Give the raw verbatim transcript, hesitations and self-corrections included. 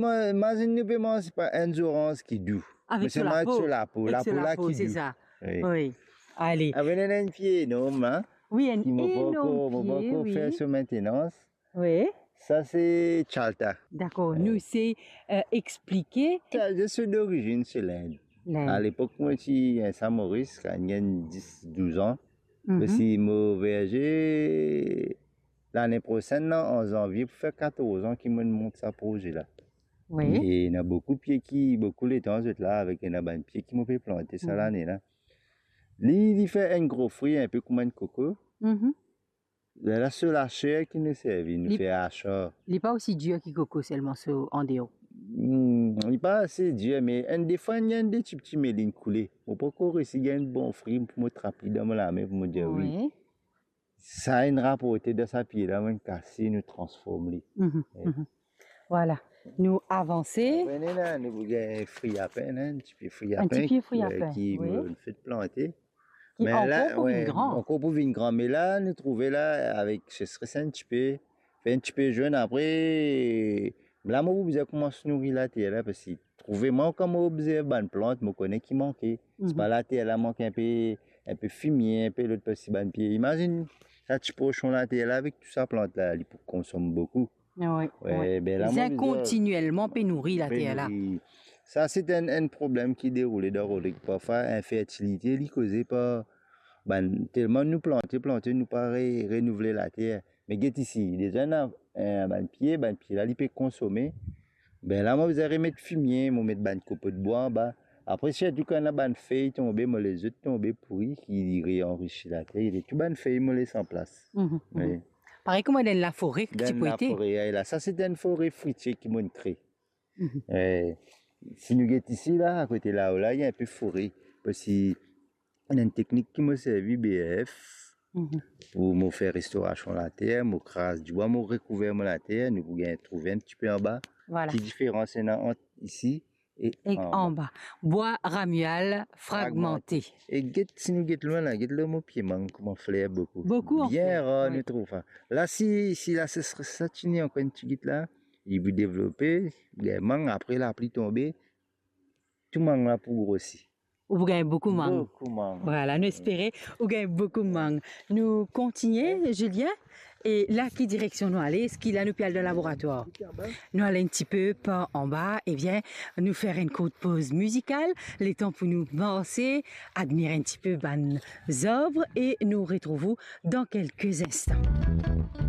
Mo, imazinn nou pe manz pa enn zoranz ki dou. Avek so lapo. Mo se manz so lapo, lapo la ki dou. Avek so lapo, se sa. Wi. Wi. Ale. Apre, ena enn pie enorm la. Wi, enn enorm pie, wi. Ki mo pankor, mo pankor fer so maintenans. Wi. Sa se chalta. Dakor, nou se, eh, explike. Sa, zis so dorizinn se Lind. Lind. Alepok, mo ti enn sa Moris, kan mo gagn dis, douz an. Mhm. Osi mo verze, lane prosenn la, an zanvie, pou fer katorz an ki mo mont sa proze la. Wi. E ena boukou pie ki, boukou letan zot la, avek ena bann pie ki mo pe plante sa lane la. Li, li fer enn gro fri, enn pe kouma enn koko. Mhm. Lerla so laser ki nou servi, nou fer asar. Li pa osi dir ki koko, selman so andeor. Hmm, li pa ase dir, me enn defwa, ena enn de tipti melinn koule. Mo pankor resi gagn bon fri pou mo trap li dan mo lame, pou mo dir wi. Wi. Sa inn raporte dan sa pie la, mo'nn kase, nou transform li. Mhm, mhm. Vwala. Nou avanse. Apre, nou ena, nou gagn fri lapin, enn ti pie fri lapin, enn ti pie fri lapin, ki, wi, mo'nn fek plante. Ki ankor pou vinn gran. Ankor pou vinn gran. Me la, nou trouve la, avek sesres enn ti pe, fer enn ti pe zwenn, apre, la, mo pou bizin koumans nouri later la, parski trouve mwa, kan mo obzerv bann plant, mo kone ki manke. Mhm. Se pa later la manke enn pe, enn pe fimie, enn pe lot, parski bann pie. Imazinn, sa ti porsion later la, avek tou sa plant la, li pou konsom boukou. Wi, wi. Be la, mo bizin kontinielman pe nouri later la. Sa, se enn, enn problem ki deroule dan Rod Lake. Parfwa, infertilite, li koze par bann, telman nou plante, plante, nou pa re-, renouvle later. Me get isi, deza ena, eh, bann pie, bann pie la, li pe konsome. Be la, mo bizin remet fimie, mo met bann kopo de bwa anba. Apre, sirtou kan ena bann fey tonbe, mo les zot tonbe pouri, ki li reanrisi later, e tou bann fey mo les an plas. Mhm, mhm. Wi. Parey kouma dan lafore ki ti pou ete. Dan lafore, wi, la. Sa, se enn fore fritie ki mo'nn kre. Mhm. Eh, si nou get isi la, akote lao la, ena enn pe fore. Parski ena enn teknik ki mo servi, B R F, mhm, pou mo fer restorasion later, mo kraz dibwa, mo rekouver mo later, nou pou gagn trouve enn ti pe anba. Vwala. Ki diferans ena ant isi e anba. Bwa ramyal fragmante. E get, si nou get lwin la, get lor mo pie mang, kouma fler boukou. Boukou, anfet, wi. Bien rar nou trouv sa. La, si, si lasesres sa ti ena ankor enn tigit la, li pou devlope, gagn mang, apre lapli tonbe, tou mang la pou grosi. Ou pou gagn boukou mang. Boukou mang. Vwala, nou espere ou gagn boukou mang. Nou kontinie, Julien. E la, ki direksion nou ale? Eski la nou pe al dan laboratwar? Nou al enn ti pe par anba, ebien, nou fer enn kourt poz mizikal, letan pou nou marse, admir enn ti pe bann zarb e nou retrouv ou dan kelke instan.